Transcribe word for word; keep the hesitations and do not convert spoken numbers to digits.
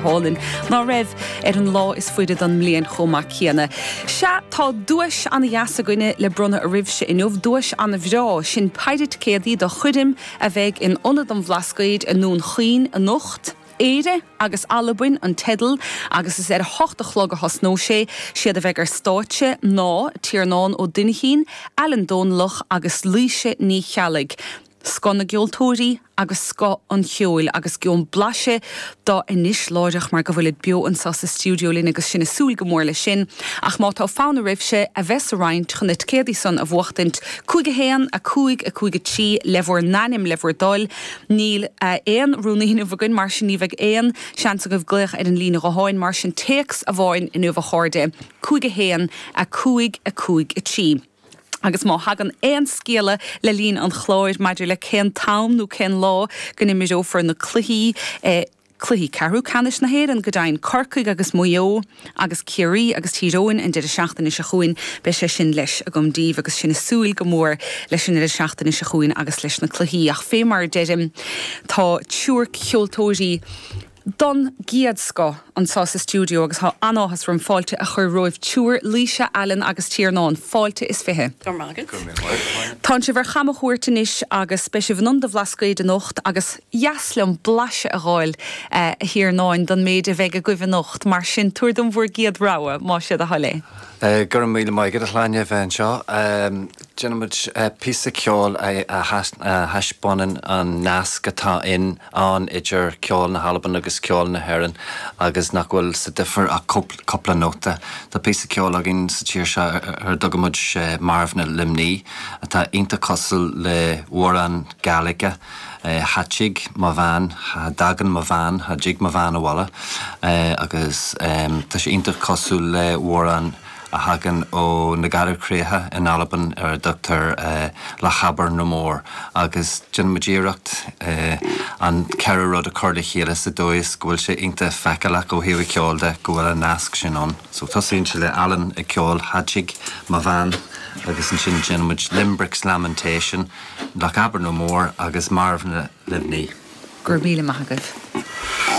hálainn, ná raibh ar an lá is faide den mbliain chomh maith céanna. Sea, tá duais an-dheas againne le bronnadh oraibhse inniu, duais an-bhreá, sin péire ticéadaí do choirm a bheidh in Ionad an Bhlascaoid i nDún Chaoin anocht. Éire agus Albain an teideal agus is ar a hocht a chlog a thosnóidh sé. Siad a bheidh ar stáitse ná Tiarnán Ó Duinchín, Alan Dónallach agus Laoise Ní Cheallaigh. Scoth na gceoltóirí agus scoth an cheoil agus gheobhaim blaiseadh dó anois láithreach mar go bhfuilid beo anseo sa stiúideo linn agus sinn ag súil go mór leis sin. Ach má tá fonn oraibhse a bheith sa roinnt chun na ticéadaí san a bhuachtaint, cúig a haon, a cúig, a cúig a trí le bhur n-ainm le bhur dtoil. Níl aon rúnaí inniu againn mar sin ní bheidh aon seans agaibh glaoch ar an líne ghutháin mar sin téacs amháin inniu a chairde, cúig a haon, a cúig, a cúig a trí. Agus má thagann aon scéala le linn an chláir maidir le cén t-am nó cén lá go n-imreofar na cluichí, cluichí ceathrú ceannais na hÉireann go deimhin, Corcaigh agus Maigh Eo agus Ciarraí agus Tír Eoghain an deireadh seachtaine seo chugainn, beidh sé sin leis agam daoibh agus sinn ag súil go mór leis an deireadh seachtaine seo chugainn agus leis na cluichí. Ach fé mar a deirim, tá triúr ceoltóirí den gcéad scoth anseo sa stiúideo agus tá an-áthas orm fáilte a chur romhaibh triúr, Laoise, Alan agus Tiarnán. Fáilte is fiche. Go raibh maith agat. Tánn sibh ar chamchuairt anois agus beidh sibh in Ionad an Bhlascaoid anocht agus dheas liom blaiseadh a dh'fháil, a Thiarnáin, don méid a bheidh agaibh anocht. Mar sin, tabhair dom bhur gcéad rogha, más é do thoil é. Go raibh míle maith agat, a Shláine, a bheith anseo. Déanfaimid píosa ceoil a thaispeánann an nasc atá in ann idir ceol na hAlban agus ceol na hÉireann agus nach bhfuil sa difear ach cúpla nóta. Tá píosa ceoil againn sa tír seo ar a dtugaimid Marbhna Luimní atá iontach cosúil le hamhrán Gàidhlige, Tha tigh mo bhean, cha dtagann mo bhean, cha dtig mo bhean abhaile agus tá sé iontach cosúil le hamhrán a thagann ó na Garbhchríocha in Albain ar a dtugtar Lochaber no More agus déanaimid iarracht an ceithre rud a chur le chéile sa dóigh is go bhfuil sé iontach feiceálach ó thaobh an cheoil de go bhfuil an nasc sin ann. So tosaíonn sé le Alan ag ceol Tha tigh mo bhean agus ansin déanaimid Limbrick's Lamentation, Lochaber no More agus Marbhna Luimní. Go raibh míle maith agaibh.